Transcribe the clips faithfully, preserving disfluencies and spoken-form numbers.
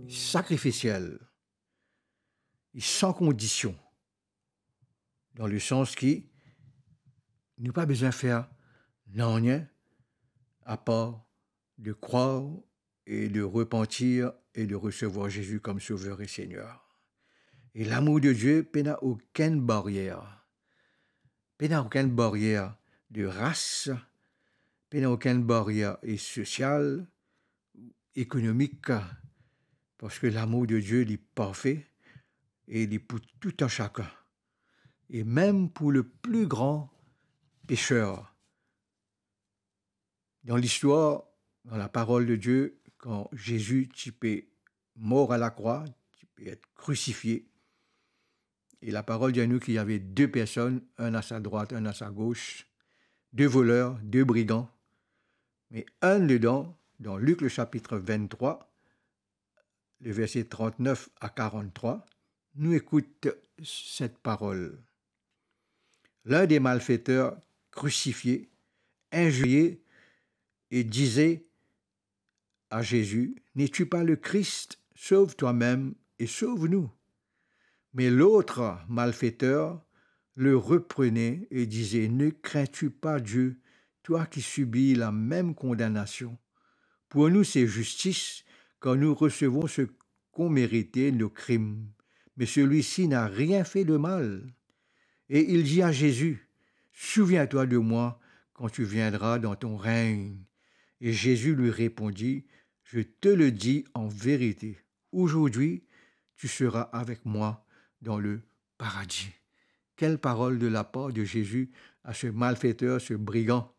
sakrifisiel, li san kondision, dan le sans ki nou pa bizin fer nanye apar de krwar e de repantir e de resevwar Zezi kom Sover e Segner. E lamour de Die pena okenn baryer. Pena okenn baryer de ras, pena okenn baryer e sosial, ekonomik, parski lamour de Die, li parfe e li pou tou enn sakenn. E mem pou le pli gran peser. Dan listwar, dan laparol de Die, kan Zezi ti pe mor a lakrwa, ti pe et krisifie, e laparol dir nou ki ena de personn, enn a sa drwat, enn a sa gos, de voler, de brigan. Me enn ladan, dan Lik le sapit venntrwa, le verse trantnef a karanntrwa, nou ekout set parol. L'un des malfaiteurs crucifiés injuriait et disait à Jésus, « N'es-tu pas le Christ ? Sauve toi-même et sauve-nous. » Mais l'autre malfaiteur le reprenait et disait, « Ne crains-tu pas Dieu, toi qui subis la même condamnation ? Pour nous, c'est justice, car nous recevons ce qu'ont mérité nos crimes. Mais celui-ci n'a rien fait de mal. » Et il dit à Jésus, « Souviens-toi de moi quand tu viendras dans ton règne. » Et Jésus lui répondit, « Je te le dis en vérité, aujourd'hui, tu seras avec moi dans le paradis. » Quelle parole de la part de Jésus à ce malfaiteur, ce brigand.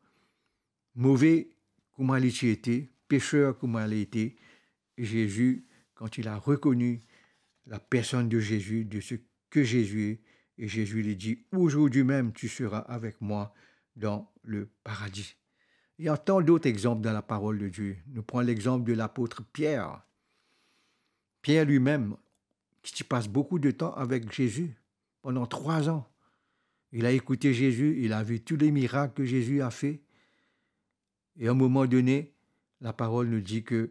Move kouma li ti ete, peser kouma li ete, Zezi, kan li la rekoni la personn de Zezi, de seki Zezi e, e Zezi li dir, « Aujourd'hui même, tu seras avec moi dans le paradis. » Il y a tant d'autres exemples dans la parole de Dieu. Nou pran lexanp de lapot Pier. Pier limem, ki ti pas boukou de tan avek Zezi, pandan trwa an. Li la ekoute Zezi, li la vi tou le mirak ki Zezi la fer. E a enn moman done, laparol nou dir ki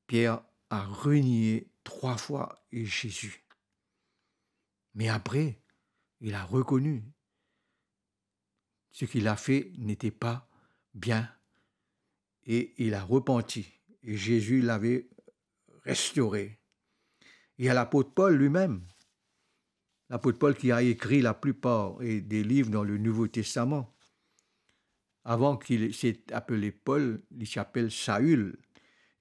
Pier la renie trwa fwa Zezi. Me apre, li la rekoni seki li la fer nete pa bien e li la repanti. E Zezi la restore. E a lapot Pol limem, lapot Pol ki a ekri laplipar e de liv dan le Nouvo Testaman. Avan ki li ti apele Pol, li ti apel Saül.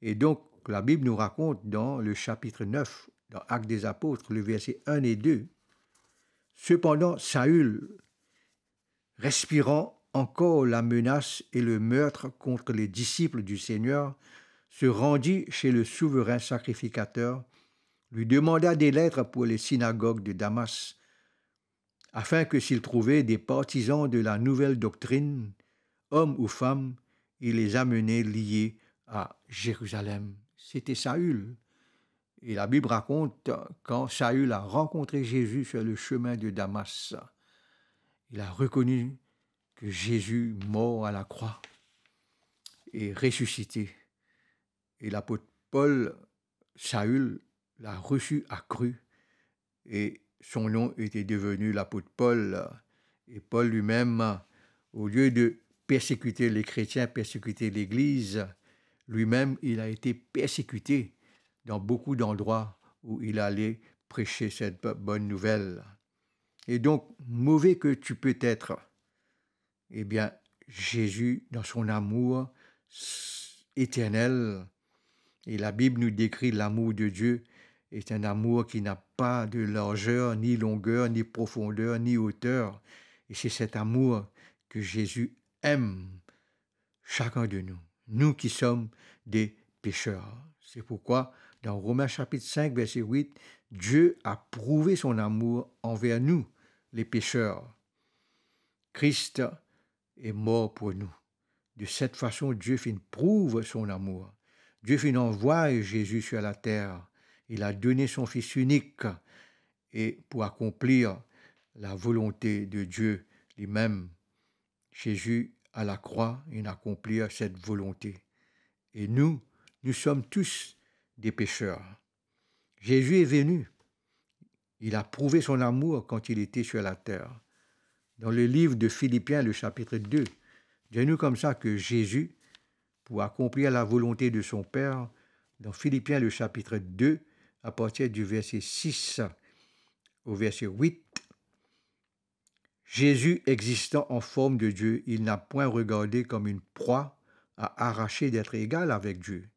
E donk, Labib nou rakont dan le sapit nef, dan Actes des Apôtres, le verse enn e de, « Cependant, Saül, respirant encore la menace et le meurtre contre les disciples du Seigneur, se rendit chez le souverain sacrificateur, lui demanda des lettres pour les synagogues de Damas, afin que s'il trouvait des partisans de la nouvelle doctrine, hommes ou femmes, il les amenait liés à Jérusalem. » Sete Saül. E Labib rakont, kan Saül la rankontre Zezi sur le chemin de Damas, li la rekoni ki Zezi mor a lakrwa e resisite. E lapot Pol, Saül, la resi a Kri, e son nom ete deveni lapot Pol. E Pol limem, olie de persekite le kretien, persekite Legliz, limem, li la ete persekite dan boukou dandrwa ki li ale pres set bonn nouvel. E donk, move ki ti pe etre, ebien, Zezi, dan son amour s-, eternel, e Labib nou dekri lamour de Die, est un amour qui n'a pas de largeur, ni longueur, ni profondeur, ni hauteur. E se set amour ki Zezi em sakenn de nou, nou ki som de peser. Se pourkwa, dan Romin sapit sink, verse wit, Dieu a prouve son amour anver nou, le peser. Kris est mor pou nou. De set fason, Die finn prouv son amour. Die finn anvway Zezi sur later. Li la done son Fis inik e pou akonplir lavolonte de Die limem. Zezi a lakrwa, inn akonplir set volonte. E nou, nou som tous des pécheurs. Jésus est venu. Il a prouvé son amour quand il était sur la terre. Dans le livre de Philippiens, le chapitre deux, dit nous comme ça que Jésus, pour accomplir la volonté de son Père, dans Philippiens, le chapitre deux, à partir du verset six au verset huit, Jésus, existant en forme de Dieu, il n'a point regardé comme une proie à arracher d'être égal avec Dieu,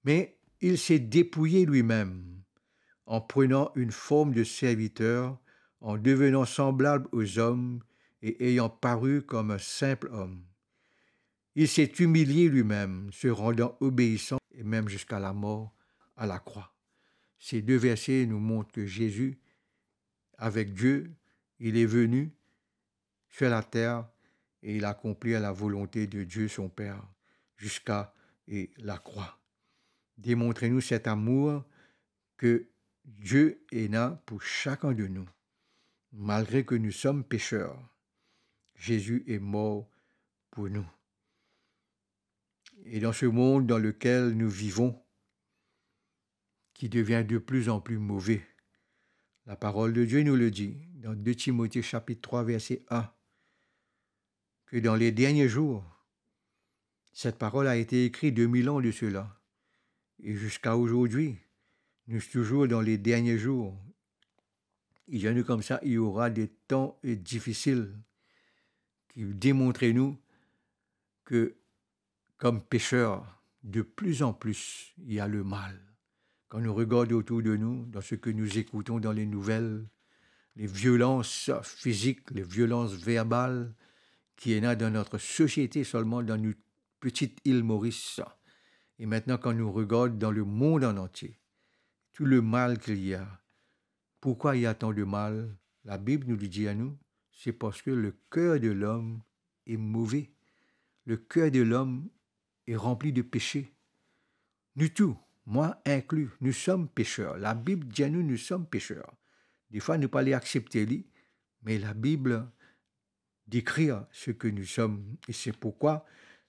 mais il s'est dépouillé lui-même en prenant une forme de serviteur, en devenant semblable aux hommes et ayant paru comme un simple homme. Il s'est humilié lui-même, se rendant obéissant et même jusqu'à la mort à la croix. Ces deux versets nous montrent que Jésus, avec Dieu, il est venu sur la terre et il a accompli la volonté de Dieu son Père jusqu'à, et la croix. Démontrez-nous cet amour que Dieu ena pour chacun de nous. Malgré que nous sommes pécheurs, Jésus est mort pour nous. Et dans ce monde dans lequel nous vivons, qui devient de plus en plus mauvais, la parole de Dieu nous le dit dans deux Timothée chapitre trois verset un, que dans les derniers jours, cette parole a été écrite deux mille ans de cela, et jusqu'à aujourd'hui, nous sommes toujours dans les derniers jours. Il y a nous comme ça, il y aura des temps, eh, difficiles qui démontrent nous que, comme pécheurs, de plus en plus, il y a le mal. Quand nous regardons autour de nous, dans ce que nous écoutons dans les nouvelles, les violences physiques, les violences verbales qui est là dans notre société, seulement dans notre petite île Maurice. Et maintenant, quand nous regardons dans le monde en entier, tout le mal qu'il y a, pourquoi il y a tant de mal? La Bible nous le dit à nous, c'est parce que le cœur de l'homme est mauvais. Le cœur de l'homme est rempli de péché. Nous tous, moi inclus, nous sommes pécheurs. La Bible dit à nous, nous sommes pécheurs. Des fois, nous pas les accepter, li, mais la Bible décrire ce que nous sommes. Et c'est pourquoi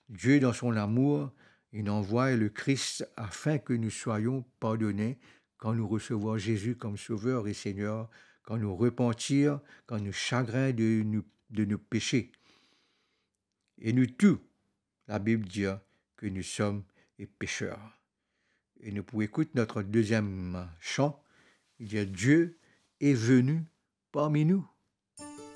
Dieu, dans son amour, il envoie le Christ afin que nous soyons pardonnés quand nous recevons Jésus comme Sauveur et Seigneur, quand nous repentir, quand nous chagrin de nous, de nos péchés. Et nous tous, la Bible dit que nous sommes des pécheurs. Et nous pouvons écouter notre deuxième chant. Il dit, Dieu est venu parmi nous.